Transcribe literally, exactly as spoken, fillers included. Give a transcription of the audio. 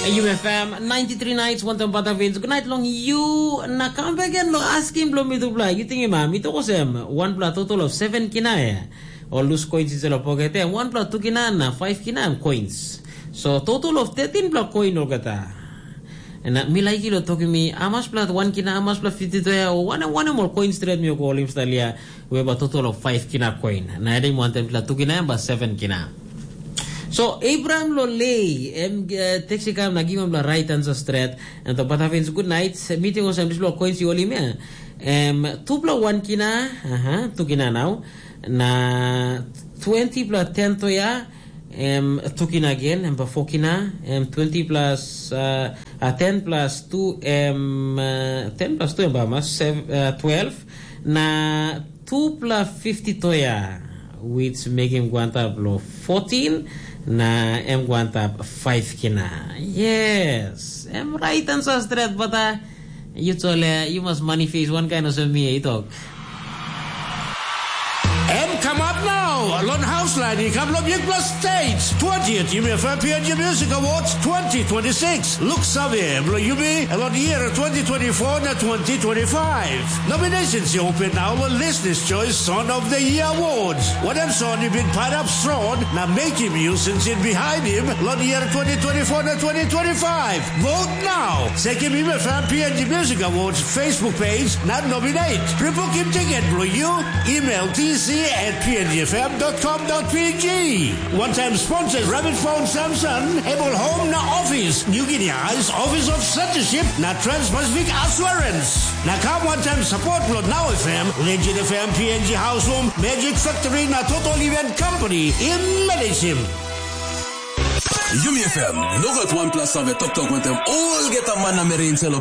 Yumi F M ninety-three nights, wantam bata Vince. Good night long you. Na kam bek gen lo asking blo mi tupla. You think ma mi toko sem one pla total of seven kina ya. Or lose coins is lo pocket ya. One pla two kina na five kina am coins. So total of thirteen pla coin olgeta. Na mi like lo toki mi amas pla one kina amas pla fifty to ya. One one more coins trade mi ko olim stalia. We ba total of five kina coin. Na ede wantam pla two kina ba seven kina. So Abraham lo lei em uh, text kam na give him the right answer straight. And the Batavins good night. Meeting was this lo coins you only me. Um, two plus one kina, aha, two kina now. Na twenty plus ten to ya. Um, two kina again, and four kina, um, twenty plus uh, uh, ten plus two, um, uh, ten plus two, and seven, uh, twelve. Na two plus fifty to ya, which make him go on top lo fourteen, na em go on top five kina. Yes, em right answer straight, but uh, you tole, you must manifest one kind of me, you talk. Em kamap nau long haus lain i kam long bikpela stage twentieth Yumi F M P N G Music Awards twenty twenty-six. Look save, bilong yumi, long year twenty twenty-four na twenty twenty-five. Nominations i open now long Listeners' Choice Song of the Year Awards. Wanem song i bin pairap strong na making music in behind him long year twenty twenty-four na twenty twenty-five. Vote now. Sekim Yumi F M P N G Music Awards Facebook page na nominate. Pre-booking ticket bilong you, email T C at P N G F M dot com dot P G. One time sponsors Rabbit Phone Samson, Able Home na Office, New Guinea Eyes Office of Censorship na Trans-Pacific Assurance. Na kam one time support lo Now F M, Legend F M, P N G House Room, Magic Factory na Total Event Company. Im manage him. Yumi F M, nogat wanpela save toktok wantem olgeta mana meri inselo